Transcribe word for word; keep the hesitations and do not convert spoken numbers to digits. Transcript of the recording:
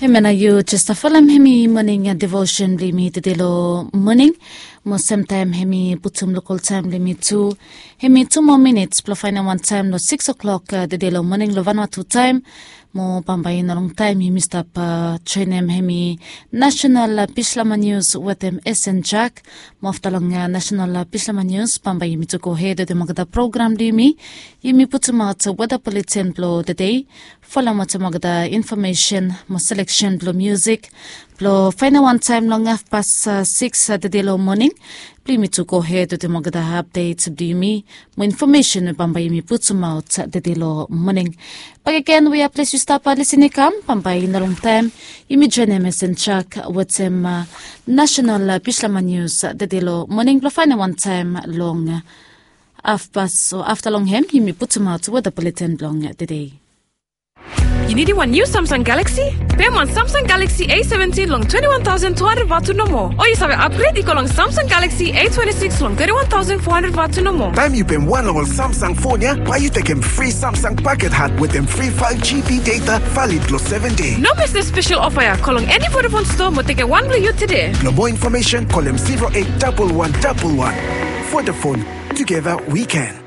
Hemia nao yu jes folem hemi moning devosen blong yumi tede long moning. Mo semtaem hemi putum lokal taem blong yumi tu. Hemi tu moa minits blong faenem wantaem long sikis oklok tede long moning long Vanuatu taem. Mo bambae i no longtaem yumi stap joenem hemi nasenal bislama nius wetem Esen Jak. Mo afta long nasenal bislama nius bambae yumi tu gohed wetem olgeta program blong yumi. Yumi putumaot weda buleten blong tede. Folem wetem olgeta infomesen mo seleksen blong musik blong faenem wantaem long hafpas sikis tede long moning. Blong yumi tu gohed wetem olgeta apdet blong yumi mo infomesen we bambae yumi putumaot tede long moning. Bakegen wea ples yu stap lisin i kam bambae i no longtaem yumi joenem Esen Jak wetem nasenal bislama nius tede long moning blong faenem wantaem long hafpas o afta long hem yumi putumaot weda buleten blong tede. Yu nidim wan niu Samsung Galaxy? Pem wan Samsung Galaxy A seventin long twenti wan taosen tu handred vatu nomo. O yu save apgred i go long Samsung Galaxy A twenti sikis long twenti wan taosen fo handred vatu nomo. Taem yu pem wan long ol Samsung fon ya, bae yu tekem fri Samsung paket hat wetem fri faef GB data valid long seven dei. No mes dem spesel ofa ya, go long eni Vodafone stoa mo tekem wan blong yu tede. Blong moa infomesen, kolem zero eight double one double one. Vodafone, together we can.